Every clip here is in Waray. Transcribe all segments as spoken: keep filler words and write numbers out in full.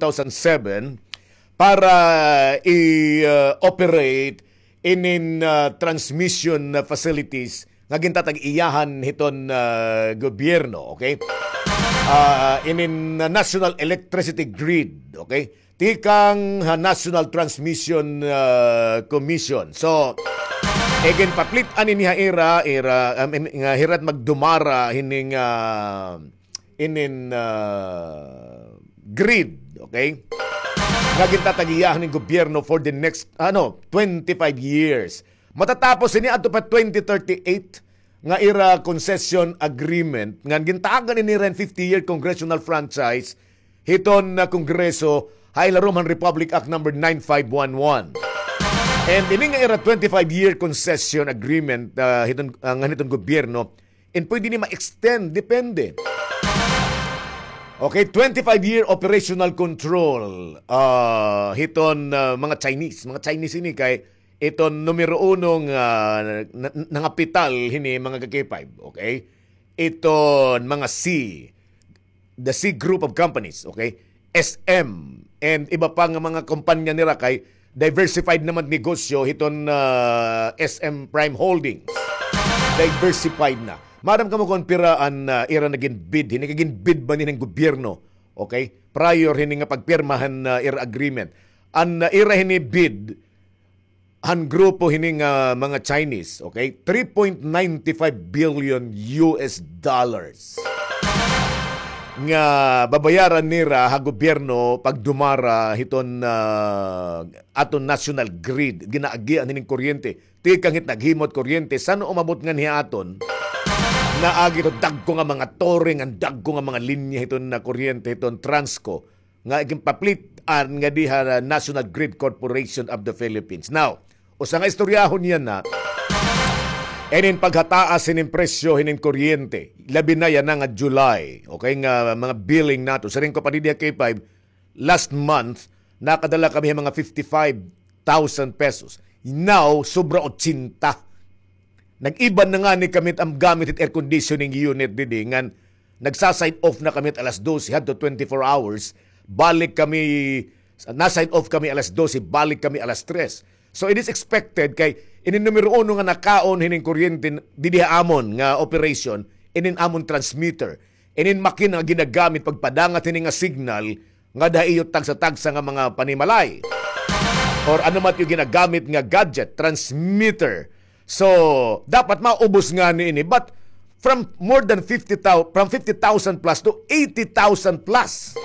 thousand seven para i-operate inin, ah, transmission facilities nga gintatag-iyahan hiton, ah, gobyerno, okay? Ah, inin, ah, National Electricity Grid, okay? Tikang ha National Transmission, ah, Commission. So, iginpaplit-an ini ha ira, ira, um, im-, nga hira it magdumara hining, ah, inin, ah, grid, okay? Nga gintatag-iyahan hin gobyerno for the next, ano, twenty-five years. Matatapos ini adto pa twenty thirty-eight nga ira concession agreement, nga gintagan ini ira hin fifty-year congressional franchise hiton, ah, Kongreso, ha ilarom han Republic Act number nine five one one. And ini nga ira twenty-five-year concession agreement, ah, hiton, ah, ngan hiton gobyerno, and pwede ni ma-extend, depende. Okay, twenty-five-year operational control, ah, hiton, ah, mga Chinese. Mga Chinese ini kay iton numero uno nga, ah, na-, nangapital hini, mga ka-K five, okay? Iton mga C, the C group of companies, okay? S M, and iba pa nga mga kompanya nira kay diversified naman negosyo hiton, ah, S M Prime Holdings. Diversified na. Maaram kamo kon pira an, ah, ira nagin bid, hini kay gin-bid man hini hin gobyerno, okay? Prior hini nga pagpirma han, ah, ira agreement. An, ah, ira hini bid, han grupo hini nga mga Chinese, okay? Three point nine five billion U S dollars nga babayaran nira ha gobyerno pagdumara hiton, ah, aton national grid, ginaagian hining kuryente. Tikang hit naghimo hit kuryente, san-o umabot nganhi ha aton? Naagi to dagko nga mga tore, ngan dagko nga mga linya hiton nga kuryente, hiton Transco, nga iginpaplit-an ngadi ha National Grid Corporation of the Philippines. Now, usa nga istoryahon yana, inin paghataas hinin presyo hinin kuryente, labi na yana nga July, okay, nga mga billing nato. Siring ko pa didi ha K five, last month, nakadala kami hin mga fifty-five thousand pesos. Now, sobra ochenta. Nag-iban na ngani kami it am gamit hit air conditioning unit didi, ngan nagsa-sign off na kami hit alas dose hadto twenty-four hours. Balik kami, na-sign off kami alas dose, balik kami alas tres. So, it is expected kay inin numero uno nga nakaon hining kuryente didi ha amon nga operation, inin amon transmitter, inin makina nga ginagamit pagpadangat hini nga signal ngada ha iyo tagsa-tagsa nga mga panimalay. Or ano man it iyo ginagamit nga gadget, transmitter. So, dapat maubos ngani ini. But from more than fifty thousand, from fifty thousand plus to eighty thousand plus.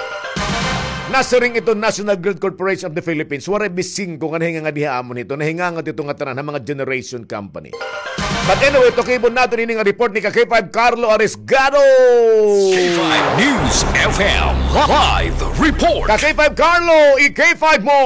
Nasiring iton National Grid Corporation of the Philippines, waray bisingko nga nahingangat diha amon hito, nahingangat ito nga tanan ha mga generation company. But anyway, tukibon naton ini nga report ni ka K five Carlo Arisgado. K five News F M live report. Ka K five Carlo, i-K five mo.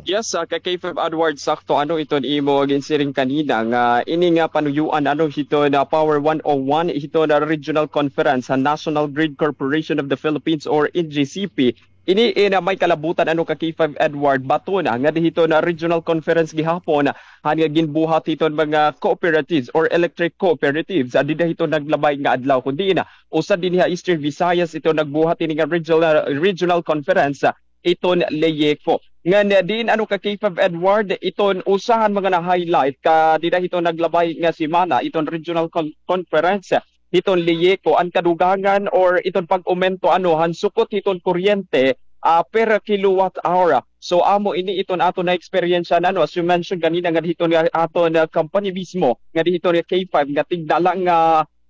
Yes, ah, ka K five Edward, sakto ano iton imo ginsiring kanina nga ini nga panuyuan ano hiton Power one oh one, hiton Regional Conference ha National Grid Corporation of the Philippines or N G C P. Ini, eh, na may kalabutan ano ka K five Edward, baton nga dida hiton Regional Conference gihapon han nga ginbuhat hiton mga cooperatives or electric cooperatives, ah, dida hiton naglabay nga adlaw, kun diin usa dinhi ha Eastern Visayas iton nagbuhat ini nga regional, regional conference, ah, iton LEIECO. Ngan, ah, diin ano ka K five Edward, iton usa han mga na-highlight ka dida hiton naglabay nga semana, iton regional con-, conference, ah, hiton LEIECO, an kadugangan or iton pag-umento ano han sukot hiton kuryente, ah, per kilowatt hour. So, amo ini iton aton na-eksperyensyahan ano, as you mentioned ganina, nga dida hiton nga aton, ah, company mismo, nga dida hiton nga K five, nga tigda la nga,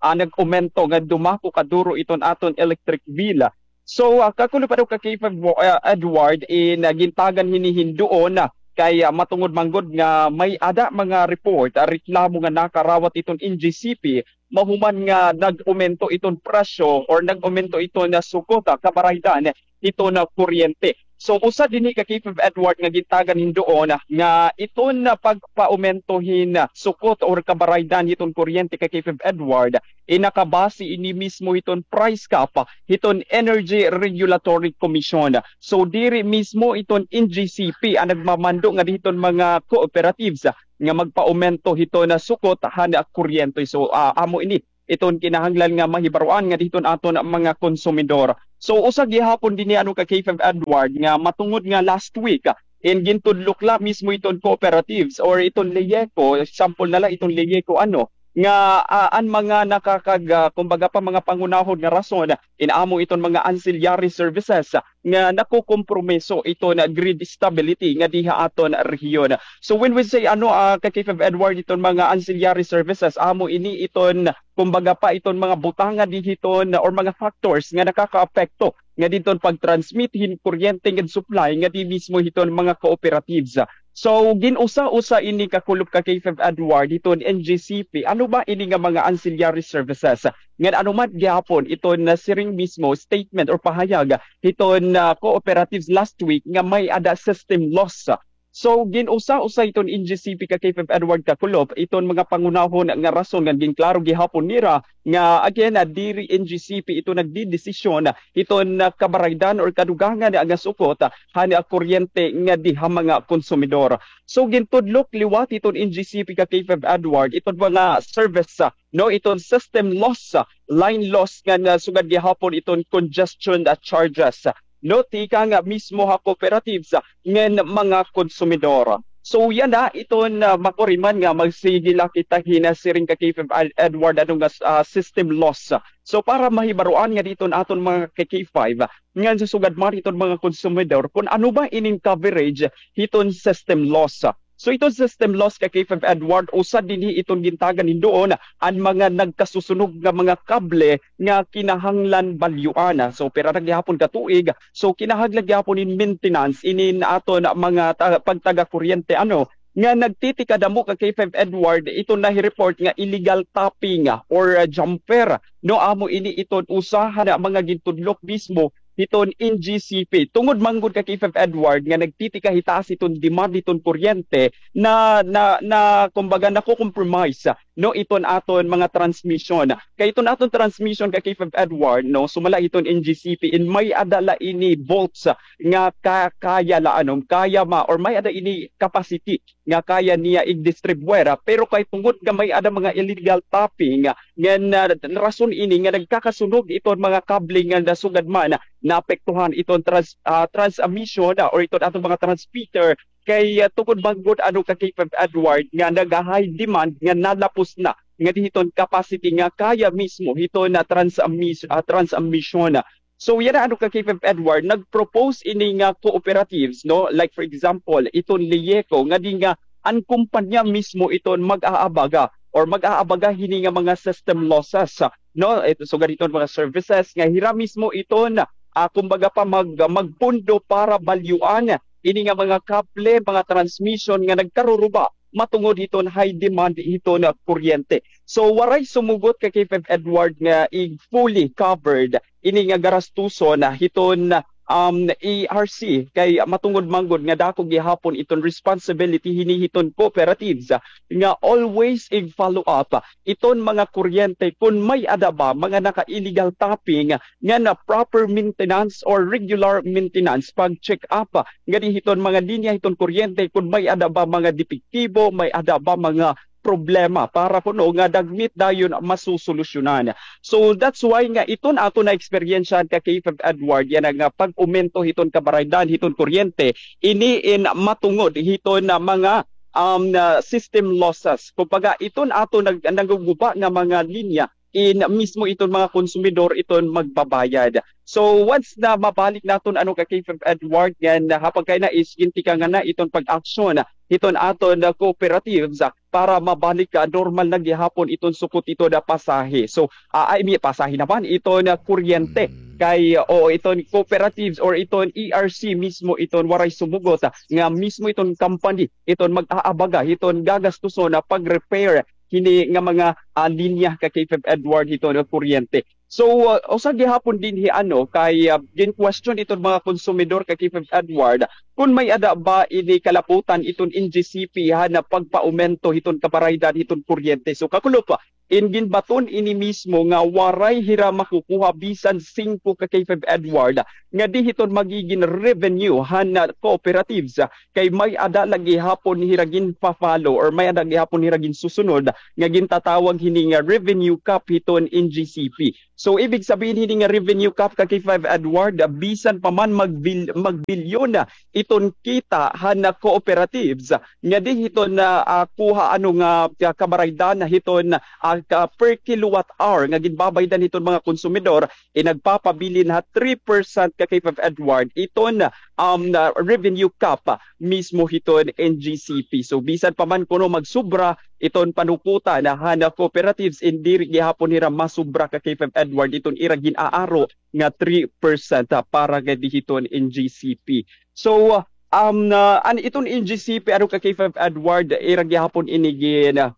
ah, nag-umento, nga dumako kaduro iton aton electric bill. So, ah, kakulop ano ka K five mo, ah, Edward, in, ah, gintagan hini hin duon, ah, kay, ah, matungod man gud nga may-ada mga report, ah, reklamo nga nakarawat iton N G C P, mahuman nga nag-umento iton presyo or nag-umento iton, ah, sukot, ah, kabaraydan hiton, ah, kuryente. So, usa dinhi ka K five Edward nga gintagan hin duon, ah, nga iton, ah, pagpaumento hin, ah, sukot or kabaraydan hiton kuryente ka K five Edward, inakabase ini mismo hiton price cap, ah, hiton Energy Regulatory Commission. So, diri mismo iton N G C P an nagmamando ngadi hiton mga cooperatives, ah, nga magpaumento hiton, ah, sukot han, ah, kuryente. So, ah, amo ini iton kinahanglan nga mahibaroan nga dihiton aton mga konsumidor. So, usa gihapon dinhi ano ka K five Edward nga matungod nga last week, ah, in gintudlok la mismo iton cooperatives or iton LEECO, example na la iton LEECO ano, nga, ah, an mga nakakag-, ah, kumbaga pa mga pangunahon nga rason, in amo iton mga ancillary services, ah, nga nakukompromiso iton grid stability nga diha aton rehiyon. So when we say ano, ah, ka K five Edward, iton mga ancillary services, amo ini iton kumbaga pa iton mga butanga dihiton or mga factors nga nakakaapekto nga diton pag-transmit hin kuryente nga supply nga di mismo hiton mga cooperatives. So, gin-usa-usa ini kakulop ka K five Edward hiton N G C P. Ano ba ini nga mga ancillary services? Ngan ano man gihapon iton nasiring mismo statement or pahayag hiton, ah, cooperatives last week nga may-ada system loss. So, gin-usa-usa hiton N G C P ka K five Edward kakulop iton mga pangunahon nga rason ngan ginklaro gihapon nira nga again, ah, diri N G C P ito nagdidesisyon hiton, ah, kabaraydan or kadugangan nga sukot, ah, han, ah, kuryente nga diha mga konsumidor. So, gintudlok liwat hiton N G C P ka K five Edward iton mga service, ah, no, iton system loss, ah, line loss ngan, ah, sugad gihapon iton congestion, ah, charges, ah, no, tikang mismo ha cooperatives, ah, ngan mga konsumidor. So yana iton, ah, makuriman nga magsigi la kita hin nasiring ka K five Ed-, Edward ano nga, ah, system loss. So para mahibaroan nga diton aton mga ka K five, ah, ngan sa sugad man iton mga konsumidor kun ano ba ining coverage hiton system loss. So iton system loss ka K five Edward, usa dinhi iton gintagan hin duon an mga nagkasusunog nga mga kable nga kinahanglan balyuan. So pira na gihapon ka tuig, so kinahanglan gihapon in maintenance inin aton mga ta-, pagtaga kuryente ano nga nagtitikadamo ka K five Edward, iton nahi-report nga illegal tapping, ah, or, ah, jumper. No, amo ini iton usa han mga gintudlok mismo hiton N G C P. Tungod man gud ka K five Edward nga nagtitikahitaas iton demand hiton kuryente na, na, na kumbaga nako-compromise, ah, no, iton aton mga transmission. Kay iton aton transmission ka K five Edward, no, sumala hiton N G C P, in may-ada la ini volts, ah, nga ka-, kaya la, ano, kaya ma, or may-ada ini capacity nga kaya niya igdistribuyar, ah, pero kay tungod nga may-ada mga illegal tapping, ah, ngan, ah, rason ini nga nagkakasunog iton mga kable nga nasugad man, ah, naapektuhan iton trans-, ah, transmission, ah, or iton aton mga transmitter, kay, ah, tungod man gud ano ka K five Edward nga naga-high demand nga nalapos na nga dihiton capacity nga kaya mismo hiton na transmis-, ah, transmission. So yana ano ka K five Edward, nag-propose ini nga cooperatives, no? Like for example, iton LEECO nga di nga an kumpanya mismo iton mag-aabaga or mag-aabaga hini nga mga system losses, no? Ito, sugad iton mga services nga hira mismo iton, ah, kumbaga pa mag-, magpundo para balyuan ini nga mga kable, mga transmission nga nagkaruruba matungod hiton high demand hiton kuryente. So waray sumugot ka K five Edward nga ig fully covered ini nga garastuson, ah, hiton, um, E R C, kay matungod man gud nga dako gihapon iton responsibility hini hiton cooperatives, ah, nga always ig-follow up, ah, iton mga kuryente kun may-ada ba mga naka-illegal tapping, ah, nga na proper maintenance or regular maintenance, pag-check up, ah, nga dihiton mga linya hiton kuryente kun may-ada ba mga depektibo, may-ada ba mga problema para kuno nga dagmit dayon masusolusyonan. So that's why nga iton aton na-eksperyensyahan ka K five Edward, yana nga pag-umento hiton kabaraydan hiton kuryente, ini in matungod hiton na mga, um, na system losses. Kumbaga, iton aton nag-, naguguba nga mga linya, in mismo iton mga konsumidor iton magbabayad. So once na mabalik naton ano ka K five Edward, ngan ha pagkaina is gintikangan na iton pag-action hiton aton, ah, cooperatives, ah, para mabalik, ah, normal na gihapon iton sukot iton, ah, pasahe. So, ah, I mean, pasahe naman iton, ah, kuryente. Kay, ah, o iton cooperatives or iton E R C mismo iton waray sumugot, ah, nga mismo iton company iton mag-aabaga hiton gagastuson na pag-repair hini nga mga, ah, linya ka K five Edward hiton kuryente. So, ah, usa gihapon dinhi ano kay, ah, gin-question iton mga konsumidor ka K five Edward kun may-ada ba ini kalaputan iton N G C P han pagpaumento hiton kabaraydan hiton kuryente. So kakulop, ah, In ginbaton ini mismo nga waray hira makukuha bisan singko ka K five Edward nga di hiton magigin revenue han, ah, cooperatives, ah, kay may-ada la gihapon hira ginpa-follow or may-ada gihapon hira ginsusunod nga gintatawag hini nga revenue cap hiton N G C P. So, ibig sabihin hini nga revenue cap ka K five Edward, ah, bisan pa man magbil-, magbilyon na iton kita han, ah, cooperatives, ah, nga di hiton, ah, ah, kuha ano nga, ah, kabaraydan na hiton, ah, ka per kilowatt hour nga ginbabaydan hiton mga konsumidor, eh, nagpapabilin ha three percent ka K five Edward iton, um, na revenue cap, ah, mismo hiton N G C P. So, bisan pa man kuno magsubra iton panukotan han cooperatives, in diri gihapon hira masubra ka K five Edward iton ira gin-aaro nga three percent, ah, para gad hiton N G C P. So, um, na, an iton N G C P, ano ka K five Edward, ira gihapon ini gin, ah,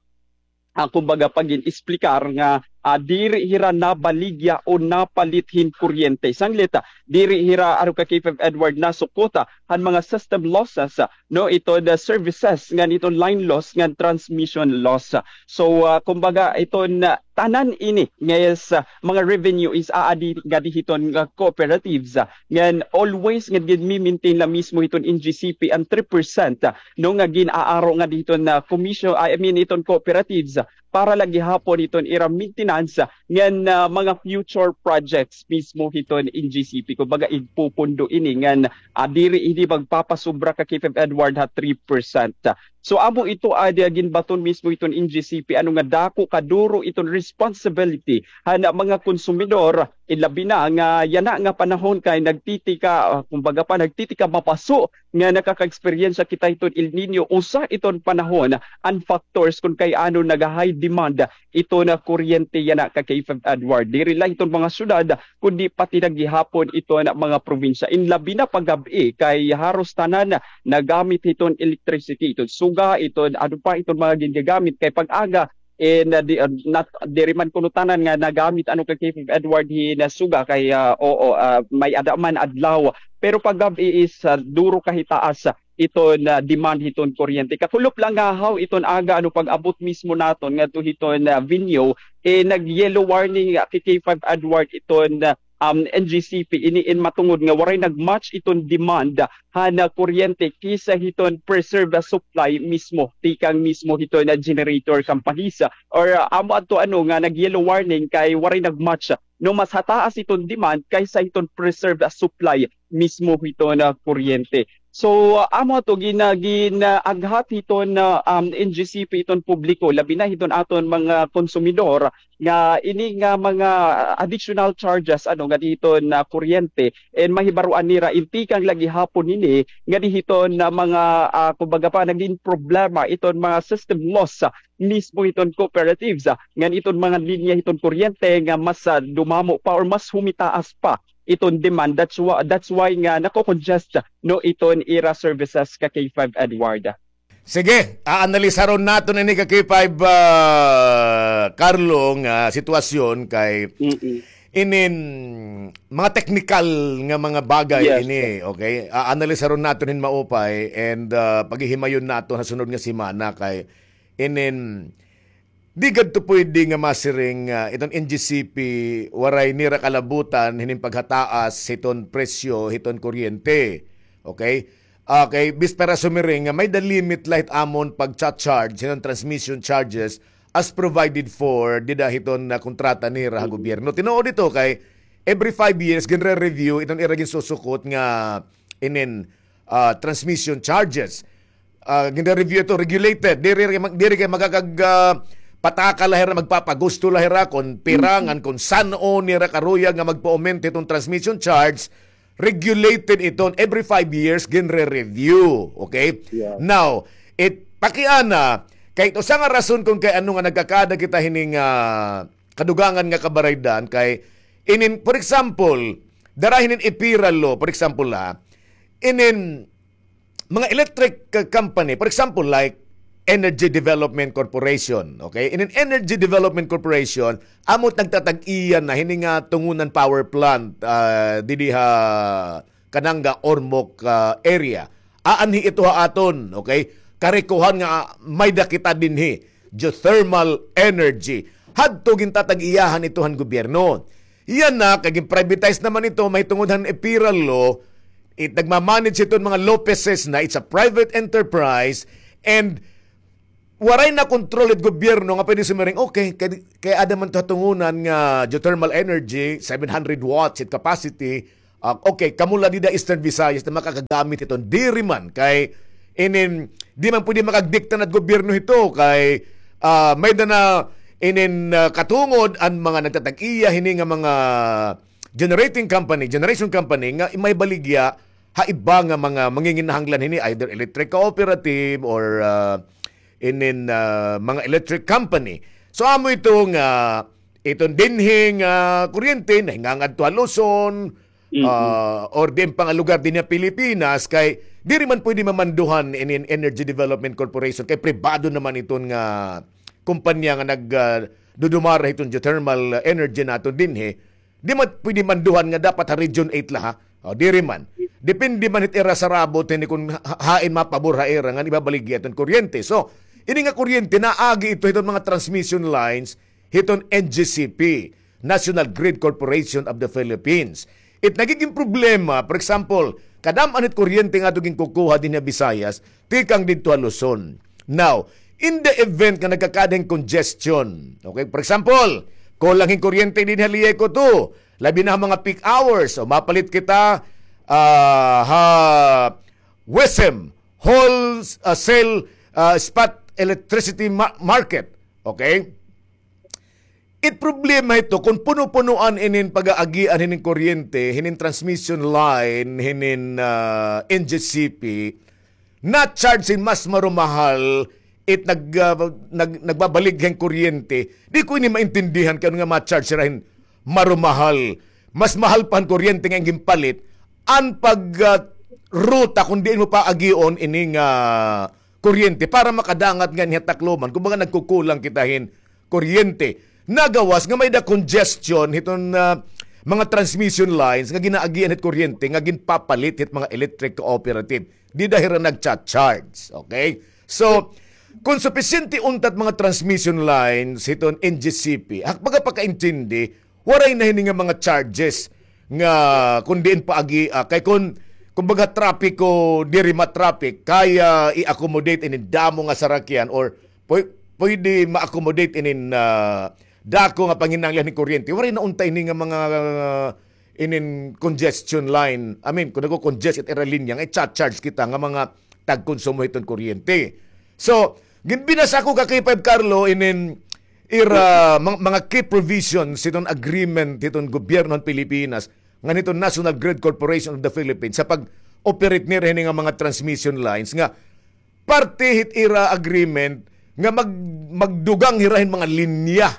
ah, kumbaga, pagin-explicar nga, ah, diri hira nabaligya o napalit hin kuryente. Sanglit, ah, diri hira, ano ka K five Edward, nasukot, ah, han mga system losses, ah, no, iton, ah, services, ngan iton line loss, ngan transmission loss. So, ah, kumbaga, iton, ah, tanan ini nga is, ah, mga revenue is aadi nga di hiton nga cooperatives, ah, ngan always nga ginmi-maintain la mismo hiton N G C P an three percent, ah, no, nga gin-aaro nga di hiton na commission, I mean, iton cooperatives, ah, para la gihapon iton ira maintenance, ah, ngan, ah, mga future projects mismo hiton N G C P. Kumbaga, igpupundo ini ngan, ah, diri ini magpapasubra ka K five Edward ha three percent. So, amo ito, ah, dia ginbaton mismo iton N G C P, ano nga dako kaduro iton responsibility han mga konsumidor, ilabi na nga yana nga panahon kay nagtitika, ah, kumbaga pa, nagtitika mapaso nga nakaka-eksperyensya kita hiton El Niño, usa iton panahon, an factors kun kay ano naga-high demand iton kuryente yana ka K five Edward. Diri la hiton mga syudad, kundi pati na gihapon iton mga probinsya. In labi na pag-gab-i, kay haros tanan nagamit hiton electricity, iton suga, iton ano pa, iton mga gingagamit. Kay pag-aga, eh, na di, ah, nat-, diri man kuno tanan nga nagamit ano ka K five Edward hin suga kay, ah, oo, ah, may-ada man adlaw. Pero pag-gab-i is, ah, duro ka hitaas iton, ah, demand hiton kuryente. Kakulop la ngahaw iton aga ano pag-abot mismo naton ngadto hiton, ah, venue, eh, nag-yellow warning, ah, K five Edward iton, ah, um, N G C P ini in matungod nga waray nag-match iton demand han, ah, kuryente kaysa hiton preserve, ah, supply mismo, tikang mismo hiton, ah, generator companies, ah, or, ah, amo adto ano nga nag-yellow warning kay waray nag-match, no, mas hataas iton demand kaysa hiton preserve, ah, supply mismo hiton, ah, kuryente. So, ah, amo ato gina-, ginaaghat hiton, ah, um, N G C P iton publiko, labi na hiton aton mga konsumidor, nga ini nga mga additional charges, ano, nga di hiton, ah, kuryente, and mahibaroan nira, in tikang la gihapon ini, nga di hiton, ah, mga, ah, kumbaga pa, nagin problema iton mga system loss, ah, mismo hiton cooperatives, ah, ngan iton mga linya hiton kuryente nga mas, ah, dumamo pa or mas humitaas pa iton demand. That's why, that's why nga nako-congest, no, iton ira services ka K five Edward. Sige, aanalisaron naton ini ka K five, ah, Carlo, nga sitwasyon kay Mm-mm. inin mga teknikal nga mga bagay Yes, ini, sir. Okay? Aanalisaron naton hin maupay and, ah, paghihimayon naton ha sunod nga semana kay inin di gadto pwede nga masiring nga iton N G C P waray nira kalabutan hinin paghataas hiton presyo hiton kuryente. Okay? Okay, bis para sumiring nga may-ada limit la hit amon pagcha-charge hiton transmission charges as provided for dida hiton, ah, kontrata nira ha gobyerno. Tinuod ito kay every five years ginre-review iton ira ginsusukot nga inin, ah, transmission charges. Ah, ginre-review ito, regulated. Diri, diri kay magkakag, ah, pataka la hira, magpapagusto la hira kon pira ngan kon san-o nira karuyag nga magpa-aumento hiton transmission charge. Regulated iton, every five years ginre-review. Okay? Yeah. Now, it, pakiana, kay usa nga rason kon kay ano nga nagkakaada kita hining, ah, kadugangan nga kabaraydan kay inin, for example, dara hinin EPIRA law, for example, ha, inin mga electric, uh, company, for example, like Energy Development Corporation, okay? Inin Energy Development Corporation, amo it nagtatag-iya na hini nga Tungunan Power Plant, ah, didi ha Kananga, Ormoc, ah, area. Aanhi ito ha aton, okay? Karikohan nga, ah, may-ada kita dinhi, geothermal energy. hadto gintatag-iyahan ito han gobyerno. Yana, kay gin-privatize naman ito, mahitungod han EPIRA law, it nagmamanage iton mga Lopezes na, it's a private enterprise, and waray na control it gobyerno nga pwede sumiring, okay, kay, kay ada man to hatungunan nga geothermal energy, seven hundred watts it capacity, ah, okay, kamo la dida Eastern Visayas na makakagamit hiton. Diri man, kay inin, di man pwede makagdikta na it gobyerno hito, kay, ah, may-ada na inin, ah, katungod an mga nagtatag-iya hini nga mga generating company, generation company nga may baligya ha iba nga mga manginginahanglan hini, either electric cooperative or, ah, inin, ah, mga electric company. So, amo ito nga iton dinhi nga kuryente nahingangadto ha Luzon, ah, or diin pa nga lugar dinhi ha Pilipinas, kay diri man pwede mamanduhan inin Energy Development Corporation, kay pribado naman iton nga kumpanya nga nag, ah, dudumara hiton geothermal energy naton dinhi. Di man pwede manduhan nga dapat ha Region eight la, ha? O, diri man. Depende man hit ira sarabot hini kon ha-, hain mapabor ha ira ngan ibabaligya iton kuryente. So, ini nga kuryente naagi ito hiton mga transmission lines hiton N G C P, National Grid Corporation of the Philippines. It nagiging problema, for example, kadam-an hit kuryente nga ato ginkukuha dinhi ha Visayas, tikang didto ha Luzon. Now, in the event nga nagkakaada hin congestion, okay, for example, kulang hin kuryente dinhi ha Lieco two, labi na ha mga peak hours, o mapalit kita, ah, ha WESM, Whole, ah, Sale, ah, Spot Electricity Ma-, Market, okay? It problema ito kon puno-punuan inin pag-aagian hinin kuryente, hinin transmission line, hinin, ah, N G C P, na-charge hin mas marumahal it nag-, ah, nag-, nagbabaligya hin kuryente. Di ko ini maintindihan kay ano nga ma-charge hira hin marumahal. Mas mahal pa an kuryente nga ginpalit, an pag, ah, ruta kon diin mo paagion ini nga kuryente para makadangat nganhi ha Tacloban. Kumbaga, nagkukulang kita hin kuryente. Nagawas nga may-ada congestion hiton, ah, mga transmission lines nga ginaagian hit kuryente nga ginpapalit hit mga electric cooperative. Dida hira nagcha-charge, okay? So, kon supisyente unta it mga transmission lines hiton N G C P, ha pagkapakaintindi, waray na hini nga mga charges nga kon diin paagi, ah, kay kon, kumbaga, trapiko, diri ma-traffic, kaya i-accommodate inin damo nga sarakyan or pwe-, pwede ma-accommodate inin, ah, dako nga panginahanglan hin kuryente. Waray na unta ini nga mga, ah, inin congestion line. I mean, kon nagko-congest it ira linya, nga i-charge kita nga mga tagkonsumo hiton kuryente. So, ginbinasa ko ka K five Carlo inin ira mga, mga key provisions hiton agreement hiton gobyerno han Pilipinas ngan hiton National Grid Corporation of the Philippines ha pag-operate nira hini nga mga transmission lines nga parte hit ira agreement nga mag-, magdugang hira hin mga linya.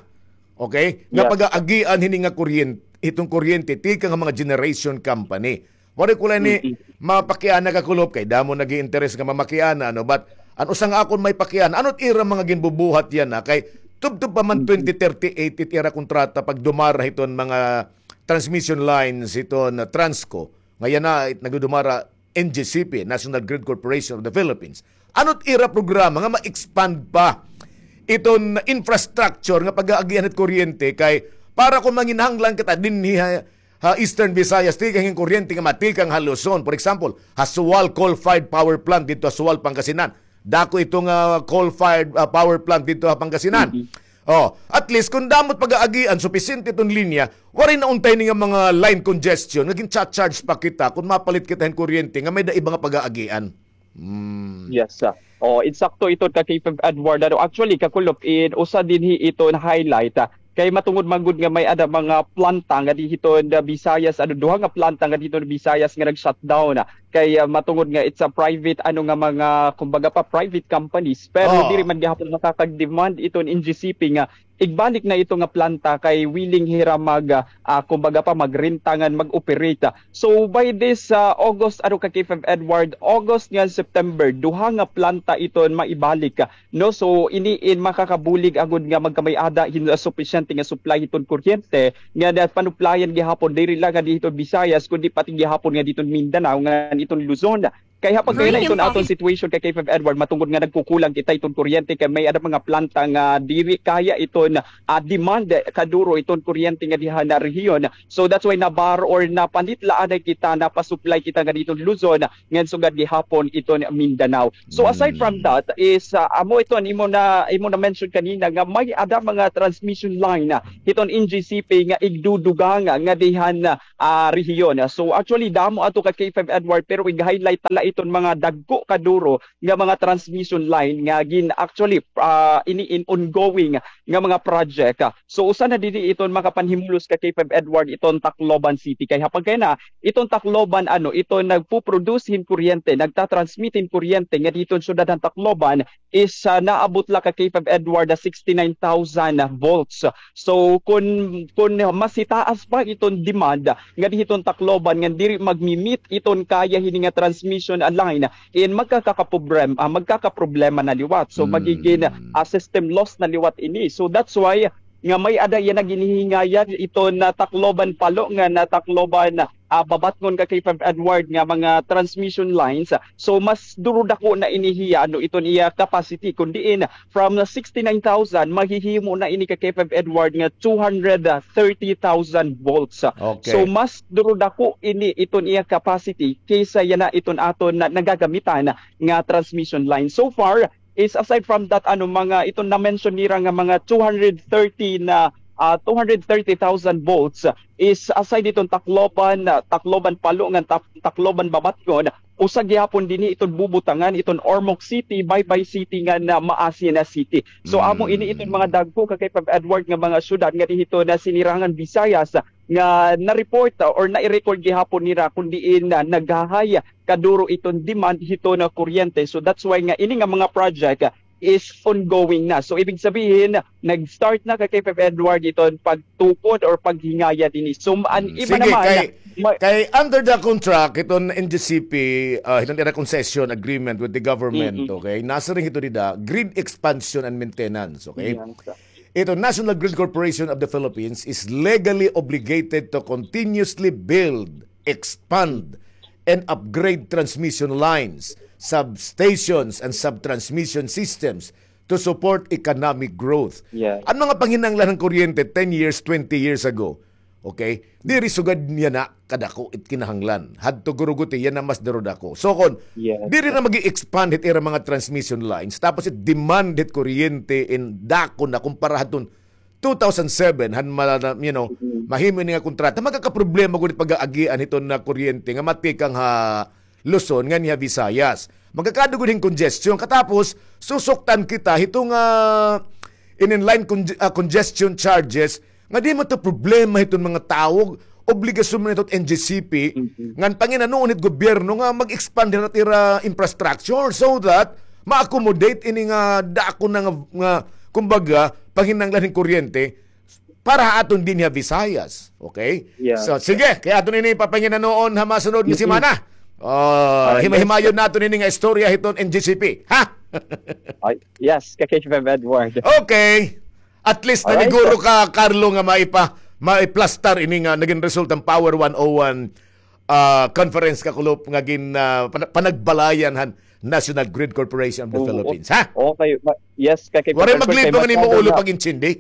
Okay? Nga pag-aagian hini nga kuryen-, hiton kuryente tikang ha mga generation company. Waray ko la ini mapakiana, Kakulop, kay damo nag-i-interes nga mamakiana, no? But an usa nga akon may pakiana, ano it ira mga ginbubuhat yana, kay tubtob pa man twenty thirty-eight it ira kontrata pagdumara hiton mga transmission lines hiton Transco. Nga yana it nagdudumara N G C P, National Grid Corporation of the Philippines. Ano it ira programa nga ma-expand pa iton infrastructure nga pag-aagian hit kuryente, kay para kon manginahanglan kita dinhi ha, ha Eastern Visayas, tikang hin kuryente nga matikang ha Luzon. For example, ha Sual coal-fired power plant didto ha Sual, Pangasinan. Dako ito nga coal-fired, ah, power plant didto ha Pangasinan. Oh, at least, kon damo it pag-aagian, supisyente iton linya, waray na unta ini nga mga line congestion nga gin-charge pa kita kon mapalit kita hin kuryente nga may-ada iba nga pag-aagian. Mm. Yes, ah. Oh, insakto ito ka K five Edward. Ano, actually, Kakulop, in usa dinhi ito na highlight, ah, kay matungod man gud nga may-ada mga planta nga dinhi hiton Visayas, ano, duha nga planta nga dinhi hiton Visayas nga nag-shutdown, ah. Kay, ah, matungod nga it's a private, ano, nga mga, kumbaga pa, private companies. Pero diri man gihapon makakag-demand iton N G C P nga igbalik na ito nga planta kay willing hira mag, ah, ah, kumbaga pa, magrenta ngan mag-operate. So, by this, ah, August, ano ka, K five Edward, August ngan September, duha nga planta iton maibalik, ah, no? So, ini in makakabulig agud nga magkamay-ada hin, ah, supisyente nga supply hiton kuryente nga napanuplayan gihapon diri la nga dinhi hiton Visayas, kundi pati gihapon nga dinhi hiton Mindanao ngan hiton Luzon. Kay ha pagkahina iton aton situation kay K five Edward, matungod nga nagkukulang kita iton kuryente kay may-ada mga planta nga diri kaya iton, ah, demand kaduro iton kuryente nga diha na rehiyon. So that's why nabar or napalit la anay kita, napasupply kita nga diton Luzon, ngan sugad gihapon iton Mindanao. So aside from that is, ah, amo iton imo na, imo na mention kanina nga may-ada mga transmission line, ah, hiton N G C P nga igdudugang nga dihan, ah, rehiyon. So actually damo ato ka K five Edward, pero ig-highlight ta la iton mga dagko kaduro nga mga transmission line nga gin-, actually, ah, ini in ongoing nga mga project. So usa na dinhi iton makapanhimulos ka K five Edward, iton Tacloban City. Kay ha pagkahina iton Tacloban, ano, iton nagpo-produce hin kuryente, nagta-transmit hin kuryente nga diton syudad han Tacloban is, ah, naabot la ka K five Edward, ah, sixty-nine thousand volts. So kun, kun mas hitaas pa iton demand nga dihiton Tacloban nga diri magmi-meet iton kaya hini nga transmission, ah, line, in magkakakaproblem-, ah, magkakaproblema na liwat. So magigin, ah, system loss na liwat ini. So that's why nga may-ada yana ginihingayan iton Tacloban Palo ngan Tacloban, ah, Babatngon ka K five Edward nga mga transmission lines. So mas duro dako na ini hiya, ano, iton iya capacity, kun diin from sixty-nine thousand, mahihimo na ini ka K five Edward nga two hundred thirty thousand volts. So mas duro dako ini iton iya capacity kaysa yana iton aton na nagagamitan nga transmission line. So far is aside from that, ano, mga iton na-mention nira nga mga two hundred thirty na, ah, two hundred thirty thousand volts is aside iton Tacloban, ah, Tacloban Palo ngan Ta-, Tacloban Babatngon, usa gihapon dinhi iton bubutangan iton Ormoc City, Baybay City ngan Maasi na City. So amo ini iton mga dagko ka K five Edward nga mga syudad nga dihiton Sinirangan Visayas nga na-report, ah, or nai-record gihapon nira kun diin, ah, naghahay kaduro iton demand hiton kuryente. So that's why nga ini nga mga project is ongoing na. So ibig sabihin, nag-start na ka K five Edward iton pagtukod or paghingaya dinhi. So an iba naman, kay, kay under the contract iton N G C P, ah, hiton ira concession agreement with the government, okay? Nasiring hito dida, grid expansion and maintenance, okay? Ito, National Grid Corporation of the Philippines is legally obligated to continuously build, expand, and upgrade transmission lines, substations, and subtransmission systems to support economic growth. An mga panginahanglan han kuryente ten years, twenty years ago, okay? Diri sugad yana kadako it kinahanglan. Hadto gurugoti yana mas duro dako. So kon diri na magi-expand hit ira mga transmission lines, tapos it demand hit kuryente in dako na kumpara hadton two thousand seven, han ma-, you know, mahimo ini nga kontrata, magkakaproblema gud it pag-aagian hiton na kuryente nga matikang ha Luzon ngan ha Visayas. Magkakaada gud hin congestion. Katapos, susuktan kita hiton nga inin line conge-, ah, congestion charges nga di man to problema hiton mga tawo, obligasyon man ito N G C P, ngan panginanoon hit gobyerno nga mag-expand hit ira infrastructure so that ma-accommodate ini nga dako na nga, nga, kumbaga, panginahanglan hin kuryente para ha aton dinhi ha Visayas. Okay? So, sige, kay aton ini papanginanoon ha masunod nga semana. Ah, hima-himayon naton ini nga istorya hiton N G C P. Ha? Yes, ka K five Edward. Okay. At least naniguro ka, Carlo, nga maipa-, maiplastar ini nga nagin result han Power one oh one, ah, conference, kakulop, nga gin, ah, pana-, panagbalayan han National Grid Corporation of the Philippines, ha? Okay, yes, ka K five Edward. Waray maglipong an imo ulo pag-intindi.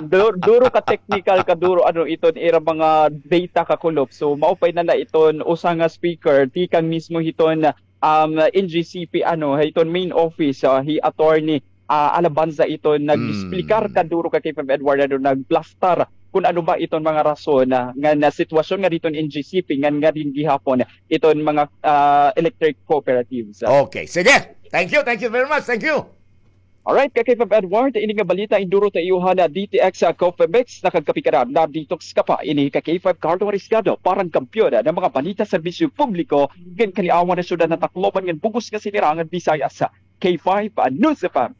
Du-, duro ka technical, kaduro, ano, iton ira mga data, kakulop. So mao pa ini na iton usa nga speaker tikang mismo hiton, um, N G C P, ano, hiton main office, ah, hi Attorney, ah, Alabanza iton nag-explicar kaduro ka K five Edward, ano, nagplastar kun ano ba iton mga rason, ah, nga na sitwasyon nga diton N G C P ngan nga din gihapon iton mga, ah, electric cooperatives. Okay, sige. Thank you, thank you very much. Thank you. Alright, ka K five Edward, ini nga balita induro ta iyo han D T X, ah, Coffee Mix, nakagkape ka na, na-detox ka pa. Ini ka K five Carlo Ariscado, parang kampiyon ng mga balita, serbisyo publiko, ngan kaliawan han syudad han Tacloban ngan bug-os nga Sinirangan Visayas. K five, ah, News F M.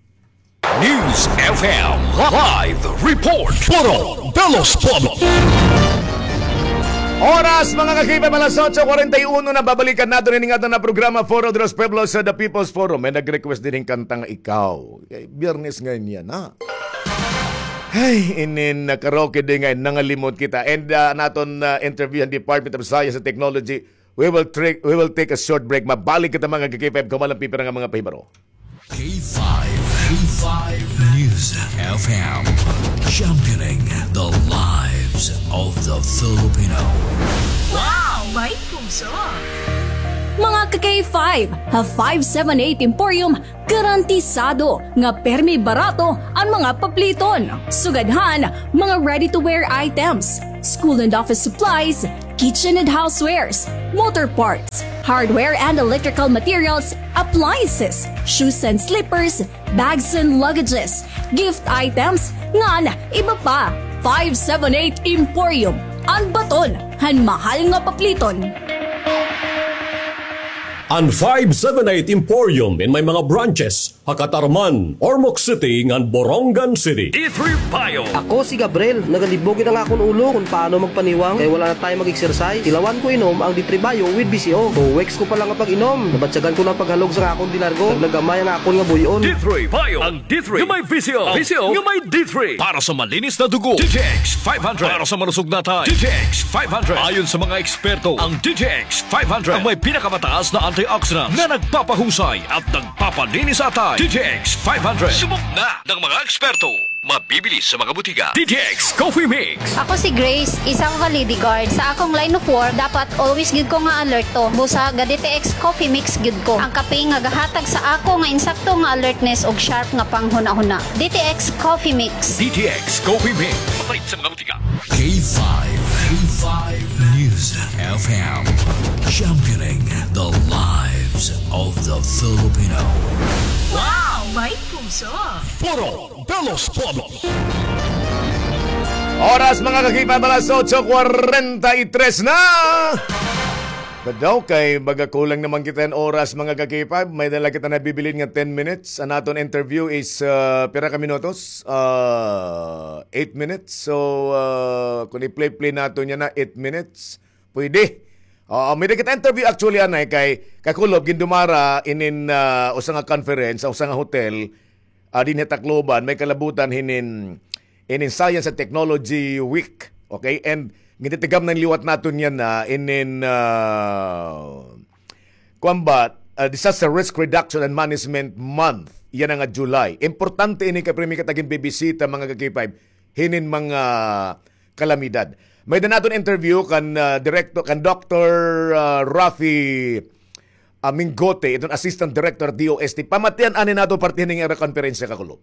News F M live report. Foro de los Pueblos. Oras, mga ka-K five, alas otso kwarenta y uno na. Babalikan naton ini nga aton nga programa, Foro de los Pueblos, sa The People's Forum. May nag-request dinhi hin kanta nga Ikaw. Kay Biyernes ngay-an yana. Ay, inin, ah, karaoke day ngay-an, nangalimot kita. And, ah, an aton, ah, interview han Department of Science and Technology, We will, tri- we will take a short break. Mabalik kita, mga ka-K five, kauban an pipira nga mga pahibaro. K five, K five News F M, championing the lives of the Filipino. Wow! May puso! Mga ka-K five, ha five seven eight Emporium, garantisado nga permi barato an mga papliton. Sugad han mga ready-to-wear items, school and office supplies, kitchen and housewares, motor parts, hardware and electrical materials, appliances, shoes and slippers, bags and luggages, gift items, ngan iba pa. Five seven eight Emporium, an baton han mahal nga papliton. An five seven eight Emporium in may mga branches ha Catarman, Ormoc City, ngan Borongan City. D three Bio. Ako si Gabriel. Nagalibog it an akon ulo kon paano magpaniwang kay wala na time mag-exercise. Tilawan ko inom ang D three Bio with V C O. Two weeks ko pa lang nga pag-inom, nabatyagan ko na an paghalog sa akon di largo. Naglagamay ang akon nga buy-on. D three Bio. Ang D three nga may V C O. Ang V C O nga may D three. Para sa malinis na dugo, D T X five hundred. Para sa malusog na atay, D T X five hundred. Ayon sa mga eksperto, ang D T X five hundred ang may pinakamataas na antioxidants na nagpapahusay at nagpapalinis sa atay. D T X five hundred. Subok na ng mga eksperto. Mabibili sa mga butika. D T X Coffee Mix. Ako si Grace, isang validity guard. Sa akong line of work, dapat always gyud ko nga alerto. Busa ga D T X Coffee Mix gyud ko. Ang kape nga gahatag sa ako nga insakto nga alertness ug sharp nga panghunahuna. D T X Coffee Mix. D T X Coffee Mix. Mabait sa mga butika. K five, K five News F M. Championing the lives of the Filipino. Wow! May puso! Puro Belos Podo. Oras, mga ka-K five, alas otso kwarenta y tres na. Kadaw kay baga kulang naman kita hin oras, mga ka-K five. May dala kita nabibilin nga ten minutes. An aton interview is, ah, pira ka minutos? Ah, eight minutes. So, ah, kung i-play-play naton yana, eight minutes, pwede. Oo, may-ada kita interview actually, anay, kay kakulob, gindumara inin, ah, usa nga conference, usa nga hotel, ah, dinhi ha Tacloban, may kalabutan hinin, inin Science and Technology Week. Okay? And gintitigamnan liwat naton yana inin, ah, kuan ba, ah, Disaster Risk Reduction and Management Month. Yana nga July. Importante ini kay pirmi kita ginbibisita, mga ka-K five, hinin mga kalamidad. May-ada naton interview kan, ah, direkto, kan Doktor, ah, Rafi, ah, Mingote, iton Assistant Director D O S T. Pamatian anay naton parte hinin nga ira konperensya, kakulob.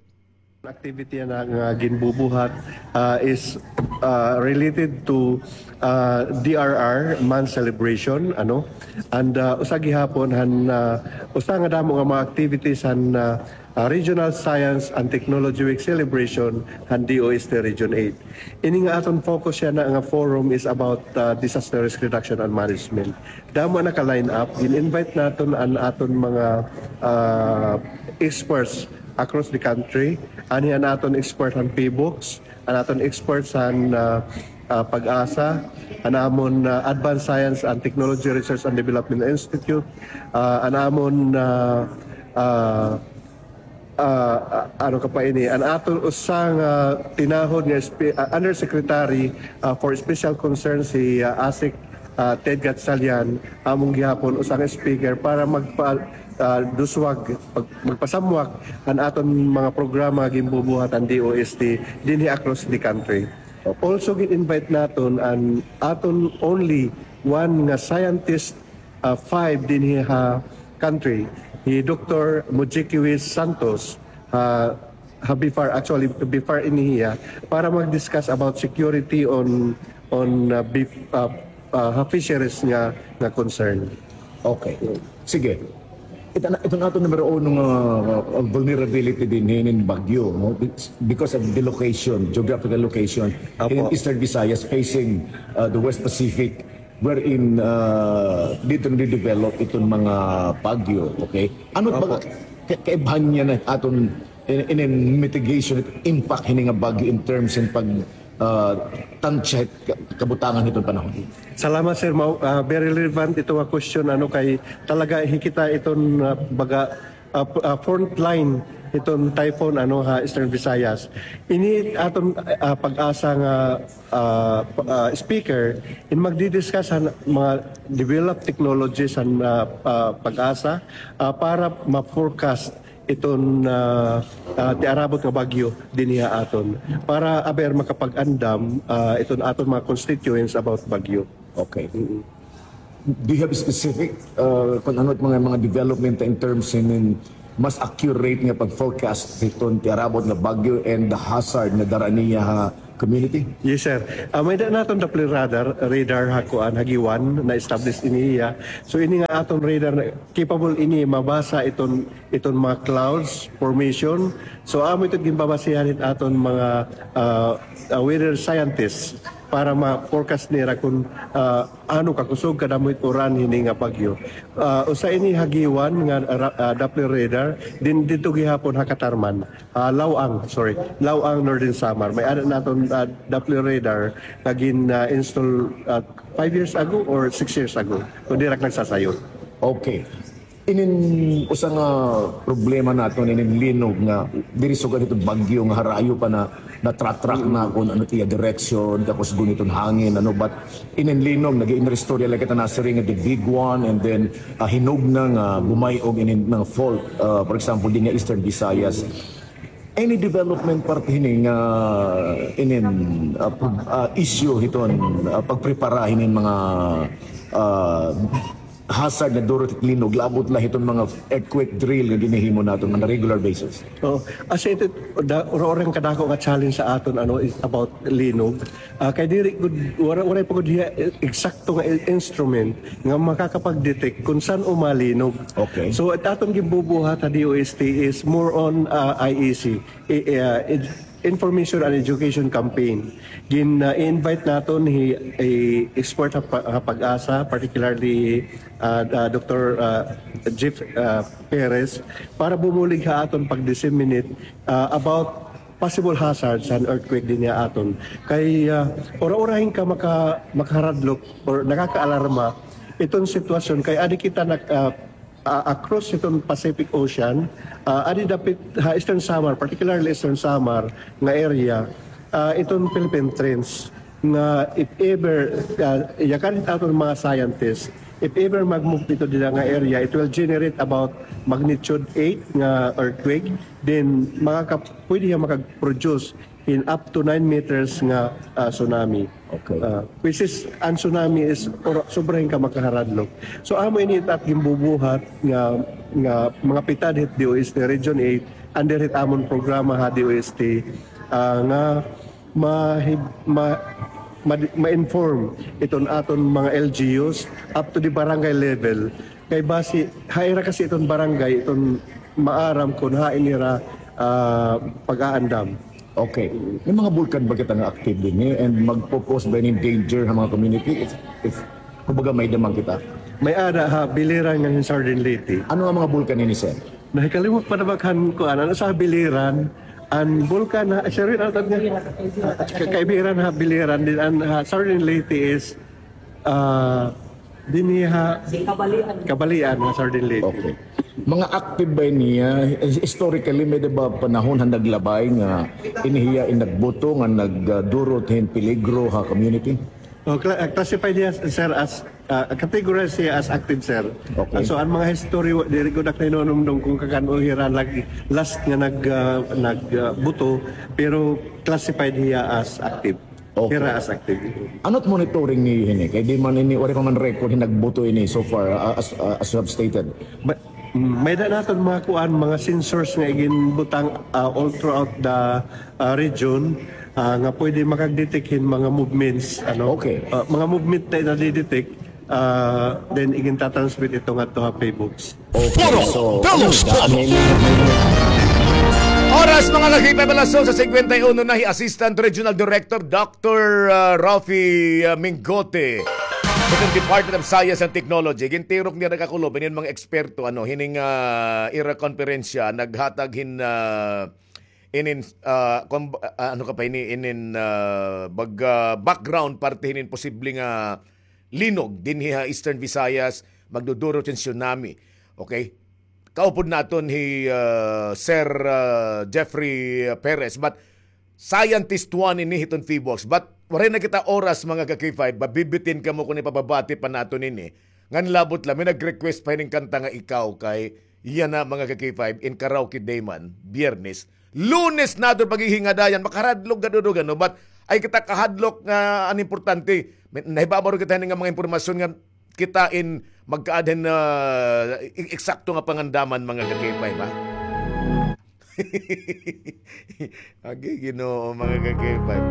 Activity na nga ginbubuhat, ah, is, ah, related to, ah, D R R month celebration, ano? And, ah, usa gihapon han, ah, usa nga damo nga mga activities han, ah, ah, Regional Science and Technology Week celebration han D O S T Region eight. Ini nga aton focus yana nga forum is about, ah, disaster risk reduction and management. Damo naka-line up, gin-invite naton an aton mga, ah, experts across the country. Anhi an aton expert han PHIVOLCS, an aton experts han, ah, ah, PAGASA, an amon, ah, Advanced Science and Technology Research and Development Institute, ah, an amon, ah, ah, ah, ah, ano ka pa ini, an aton usa nga tinahod nga espe-, ah, Undersecretary, ah, for Special Concerns, si, ah, ASEC, ah, Ted Gatchalian, amon gihapon usa nga speaker para magpa-, ah, duswag, pag-, magpasamwak an aton mga programa nga ginbubuhat han D O S T dinhi across the country. Also, gin-invite naton an aton only one nga scientist, ah, five dinhi ha country, hi Doktor Mujiki Santos, ha, ha BFAR, actually, BFAR ini hiya, para mag-discuss about security on, on, ah, beef, ah, ah, ha fisheries nga, nga concern. Okay. Sige. Ito na, ito na aton numero uno nga, ah, vulnerability dinhi hinin bagyo, no? Because of the location, geographical location, Apo. In Eastern Visayas facing, ah, the West Pacific, wherein, ah, dito nade-develop iton mga bagyo, okay? Ano ba Apo. ka-, kaibhan niya na aton in, in mitigation impact hini nga bagyo in terms in pag, ah, tansya ka-, kabutangan hiton panahon? Salamat, sir. Mao, ah, very relevant ito nga question, ano, kay talaga hi kita iton, ah, baga, ah, p-, ah, front line hiton typhoon, ano, ha Eastern Visayas. Ini aton, ah, PAGASA nga, ah, p-, ah, speaker, in magdi-discuss han mga developed technologies han, ah, ah, PAGASA, ah, para ma-forecast iton, ah, ah, tiarabot nga bagyo dinhi ha aton, para aber makapag-andam, ah, iton aton mga constituents about bagyo. Okay. Mm-mm. Do you have specific, uh, kung ano it mga, mga development in terms in, in mas accurate nga pag-forecast hiton tiarabot nga bagyo and the hazard nga dara niya ha community? Yes, sir. Ah, may-ada naton Doppler radar, radar ha kuan, ha Guiuan, na-establish ini hiya. So, ini nga aton radar, na capable ini mabasa iton, iton mga clouds formation. So, amo ito ginbabasihan hit aton mga, ah, ah, weather scientists para ma-forecast nira kung, ah, ano kakusog, kadamo it uran hini nga bagyo. Ah, usa ini ha Guiuan nga ra-, ah, Doppler radar, then didto gihapon ha Catarman, ah, Laoang, sorry, Laoang, Northern Samar. May-ada naton, ah, Doppler radar nga gin, ah, install, ah, five years ago or six years ago, kon diri ak nagsasayo. Okay. Inin usa nga problema naton inin linog nga diri sugad hito bagyo nga harayo pa na, natratrack na kon ano it iya direksyon, tapos gun iton hangin, ano, but inin linog, nag-iinristorya la kita, nasiring nga the big one, and then, ah, hinog na nga bumay-o inin mga fault, ah, for example, dinhi ha Eastern Visayas. Any development parte hini nga inin, ah, pro-, ah, issue hiton, ah, pagprepara hinin mga, ah, hazard nga duro hit linog, labot la hiton mga earthquake drill nga ginhihimo naton on a regular basis? Oh, as in, da-, ura-ura nga kadako nga challenge sa aton, ano, is about linog. Ah, kay diri gud, wara-, waray pa gud hiya eksakto nga i-, instrument nga makakapag-detect kung san-o malinog. Okay. So, it aton ginbubuhat ha D O S T is more on, ah, I E C, i-, ah, ed-, information and education campaign. Gin, ah, i-invite naton hi, hi expert ha pa-, ha PAGASA, particularly, ah, ah, Doctor, ah, Jeff, ah, Perez, para bumulig ha aton pag-disseminate, ah, about possible hazards han earthquake dinhi ha aton. Kay, ah, ura-ura hin ka maka-, makaharadlok or nakakaalarma iton sitwasyon kay adi kita nak-, ah, ah, across iton Pacific Ocean, ah, adi dapit ha Eastern Samar, particularly Eastern Samar nga area, ah, iton Philippine Trench nga if ever, ah, yakan hit aton mga scientists, if ever mag-move ito dida nga area, it will generate about magnitude eight nga earthquake, then makaka-, pwede hiya makag-produce hin up to nine meters nga, ah, tsunami. Okay. Ah, which is, an tsunami is ora-, sobra hin ka makaharadlok. So, amo ini it at ginbubuhat nga, nga mga pitad hit D O S T Region eight, under hit amon programa ha D O S T, ah, nga mahib-, ma-, ma-, ma-inform iton aton mga L G Us up to the barangay level. Kay basi, ha ira kasi iton barangay, iton maaram kon hain ira, ah, pag-aandam. Okay. May mga bulkan ba kita nga active dinhi, eh? And magpo-pose ba ini hin danger ha mga community? If, if, kumbaga, may-ada man kita. May-ada ha Biliran ngan hin Sardin Leyte. Ano nga mga bulkan ini, sir? Nahikalimot pa na ba kan kuan, ano sa Biliran, an bulkan ha, sir, ano tawag niya? Ka-, kaibiran ha Biliran, din an ha Sardin Leyte is, ah, dinhi ha Kabalian. Kabalian ha Sardin Leyte. Okay. Mga active ba niya? Historically, may-ada ba panahon han naglabay nga ini hiya in nagbuto nga nagdurot hin peligro ha community? Oh, cla-, ah, classified niya, sir, as, ah, categorized siya as active, sir. Okay. Ah, so, an mga history, wa-, diri ko na kahinunumdom kon kakan-o hira nag-, last nga nag-, ah, nag-, ah, buto, pero classified hiya as active. Okay. Hira as active. Ano it monitoring niyo hini? Kay di man ini, waray pa man record hin nagbuto ini so far, ah, as, ah, as you have stated. But, mm, may-ada naton mga kuan, mga sensors nga iginbutang, ah, all throughout the, ah, region, ah, nga pwede makag-detect hin mga movements, ano? Okay. Ah, mga movement na nadidetect, ah, then igin-transmit ito ngadto ha Paybox. Okay, Puro so, Pelos ano, Talk. Oras, mga ka-K five, alas dos sa cincuenta y uno na, hi Assistant Regional Director Doctor, ah, Rafi, ah, Mingote. Sa Department of Science and Technology, gintirok niya nagkakulob, inin mga eksperto, ano, hining, ah, ira konperensya, naghatag hin, ah, inin, ah, kon-, ah, ano ka pa ini, inin, ah, bag-, ah, background, parte hinin posible nga linog dinhi ha Eastern Visayas, magdudurot hin tsunami. Okay? kaupod naton hi, ah, Sir, ah, Jeffrey Perez. But scientist one ini hiton PHIVOLCS. But waray na kita oras, mga ka-K five. Mabibitin kamo kon ipababati pa naton ini. Ngan labot la, may nag-request pa hining kanta nga Ikaw kay yana, mga ka-K five, in Karaoke Day man, Biyernes. Lunes naton paghihingadayan, makahadlok gad, ano, but ay kita kahadlok nga an importante. May, nahibabaw kita hini nga mga impormasyon nga kita in magkaadhan na i-, eksakto nga pangandaman, mga ka-K five, ha? Agi, Ginoo, mga ka-K five.